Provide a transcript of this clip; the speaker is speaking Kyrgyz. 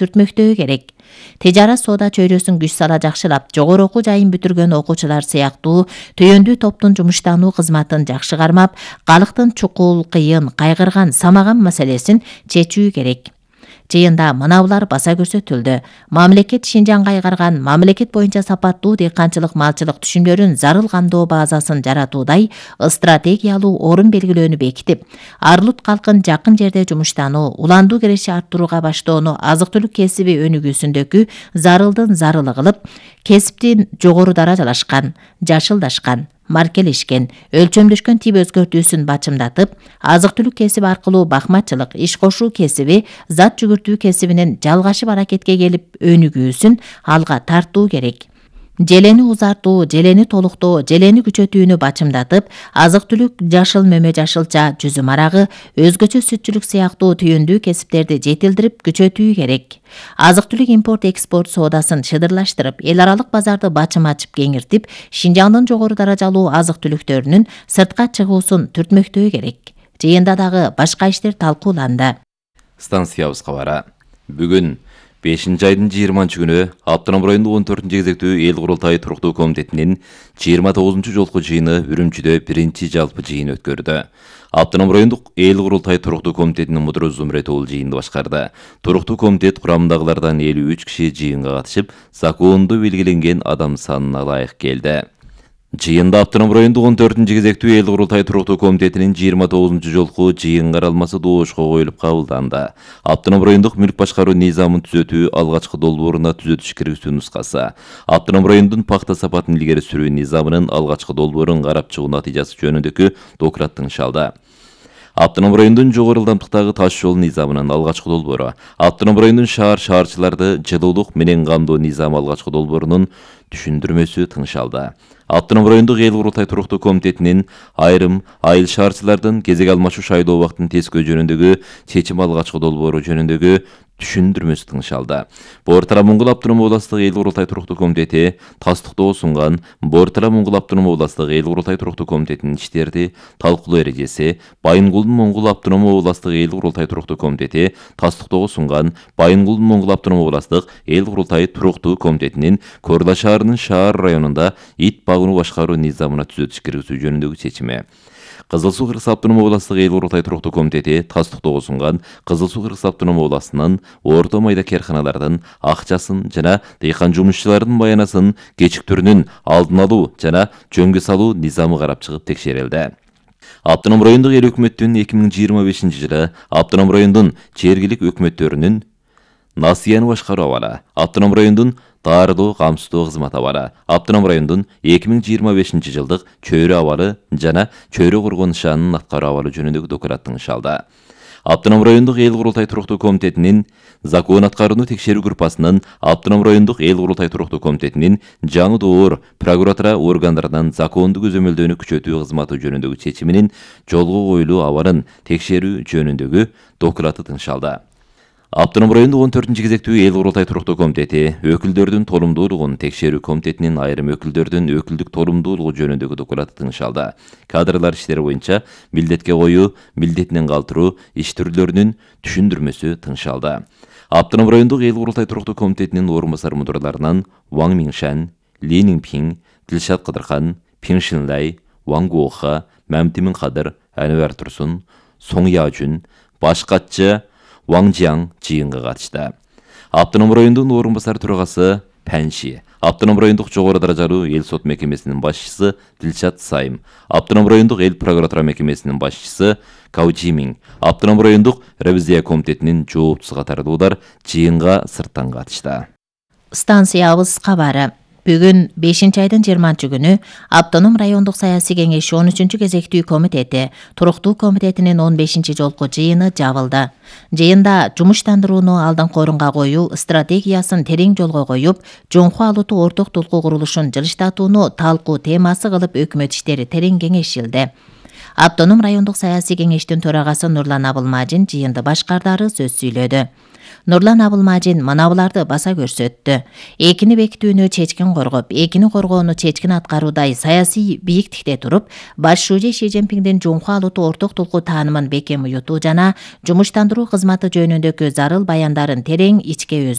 сүртмөктөө керек. Тижарат соода чөйрөсүн күч сала жакшылап, жогору окуу жайын бүтүргөн окуучулар сыяктуу төйөндүү топтун жумуштануу кызматын жакшы кармап, калктын чукул, кыйын, кайгырган, самаган маселесин чечүү керек. Жыйында мынабулар баса көрсөтүлдү. Мамлекет Шинжанга айгарган мамлекет боюнча сапаттуу дыйканчылык малчылык түшүмдөрүн зарыл камдоо базасын жаратуудай стратегиялуу орун белгилөөнү бекитип, Арлут калкын жакын жерде жумуштануу, уландуу киреши арттырууга баштоону азык-түлүк кесиби өнүгүүсүндөгү зарылдын зарылы кылып, кесиптин жогору даражалашкан, жашылдашкан, маркелешкен, өлчөмдөшкөн тип өзгөртүүсүн бачымдатып, азык-түлүк кесиби аркылуу бакмачылык, иш кошуу кесиби, зат жүгүртүү кесибинин жалгашып аракетке келип өнүгүүсүн алга тартуу керек. Желени узартуу, желени толуктоо, желени күчөтүүнү бачымдатып, азык-түлүк, жашыл мөмө жашылча, жүзүм арагы, өзгөчө сүтчүлүк сыяктуу түйүндүү кесиптерди жетилдирип күчөтүү керек. Азык-түлүк импорт-экспорт соодасын шыдырлаштырып, эл аралык базарды бачым ачып кеңиртип, Шинжаңдын жогору даражалуу азык-түлүктөрүнүн сыртка чыгуусун түртмөктөө керек. Жыйында дагы башка иштер талкууланды. Станциябыз кабары. Бүгүн 5-айдын 20-күнү Автоном районундук 14-кезектүү эл курултайы туруктуу комитетинин 29-жолку жыйыны Үрүмчүдө биринчи жалпы жыйын өткөрдү. Автоном райондук эл курултайы туруктуу комитетинин мудуру Зумрет уулу жыйынды башкарды. Туруктуу комитет курамындагылардан 53 киши жыйынга катышып, закондо белгиленген адам санына ылайык келди. Жыйында Автоном райондук 14-кезектүү эл курултайы туруктуу комитетинин 29-жолку жыйын каралмасы доошко коюлуп кабылданды. Автоном райондук мүлк башкаруу низамын түзөтүү алгачкы долбооруна түзөтүш киргизүү нускасы. Автоном райондун пахта сапатын илгери сүрүү низамынын алгачкы долбоорун карап чыгуу натыйжасы жөнүндөгү доклад тыңшалды. Автоном райондун жогору ылдамдыктагы таш жол низамынын алгачкы долбоору, Автоном райондун шаарчыларды жылуулук менен камдоо низамы алгачкы долбоорунун түшүндүрмөсү тыңшалды. Автоном райондук эл курултай туруктуу комитетинин айрым айыл шаарчылардын кезек алмашуу шайлоо убактын тескөө жөнүндөгү чечим алгачкы долбоору жөнүндөгү түшүндүрмөсү тыңшалды. Бор-Тара Моңгол автоном областык эл курултай туруктуу комитети тастыктоо сунган Бор-Тара Моңгол автоном областык эл курултай туруктуу комитетинин иштерди талкуулоо эрежеси, Байынгулдун Моңгол автоном областык эл курултай туруктуу комитети тастыктоого сунган Байынгулдун Моңгол автоном областык эл курултай туруктуу комитетинин Корла шаарынын шаар районунда ит багууну башкаруу низамына түзөтүш киргизүү жөнүндөгү чечими. Кызыл Суу Кыргыз автоном областык эл курултай туруктуу комитети тастыктоого сунган Кызыл Суу Кыргыз автоном областынын орто майда карканалардын акчасын жана дыйкан жумушчулардын баянасын кечиктүүрүнүн алдын алуу жана жөнгө салуу низамы карап чыгып текшерилди. Автоном райондук эл өкмөттүн 2025-жылы Автоном райондун жергилик өкмөттөрүнүн насыяны башкаруу абалы, Автоном райондун дарылоо камсыздоо кызмат абалы, Автоном райондун 2025-жылдык чөйрө абалы жана чөйрө коргоо нышанын аткаруу абалы жөнүндөгү доклад тыңшалды. Автоном райондук эл курултай туруктуу комитетинин закон аткарууну текшерүү группасынын Автоном райондук эл курултай туруктуу комитетинин жаңы доор прокуратура органдарынан закондуу көзөмөлдөөнү күчөтүү кызматы жөнүндөгү чечиминин жолго коюлуу абалын текшерүү жөнүндөгү доклады тыңшалды. Автоном райондук 14-кезектүү эл курултай туруктуу комитети өкүлдөрдүн толумдуулугун текшерүү комитетинин айрым өкүлдөрдүн өкүлдүк толумдуулугу жөнүндөгү доклады тыңшалды. Кадрлар иштери боюнча милдетке коюу, милдетинен калтыруу иш түрлөрүнүн түшүндүрмөсү тыңшалды. Автоном райондук эл курултай туруктуу комитетинин орун басар мудурларынан Ван Миншан, Ли Ниңпин, Дилшат Кыдырхан, Пин Шинлай, Ван Гуоха, Мамтимин Кадыр, Анвар Турсун, Соң Яжун, башкачы Ван Жиаң жыйынга катышты. Автоном райондун орун басар төрагасы Панши, Автоном райондук жогору даражалуу эл сот мекемесинин башчысы Дилшат Сайым, Автоном райондук эл прокуратура мекемесинин башчысы Кау Жимин, Автоном райондук ревизия комитетинин жооптусу катарлуулар жыйынга сырттан катышты. Станциябыз кабары. Бүгүн 5-айдын 20-күнү Автоном райондук саясий кеңеши 13-кезектүү комитети туруктуу комитетинин 15-жолку жыйыны жабылды. Жыйында жумуштандырууну алдыңкы орунга коюу стратегиясын терең жолго коюп, жоңку алутуу орток толку курулушун жылыштатууну талкуу темасы кылып өкмөт иштери терең кеңешилди. Автоном райондук саясий кеңештин төрагасы Нурлан Абылмажин жыйынды башкардары сөз сүйлөдү. Нурлан Абылмажин мына буларды баса көрсөттү. Экини бекитүүнү чечкин коргоп, экини коргоону чечкин аткаруудай саясий бийиктикте туруп, баш шүүжө Ши Цзиньпиндин жумку алууту орток тулкуу таанымын бекем уютуу жана жумуштандыруу кызматы жөнүндөгү зарыл баяндарын терең ичке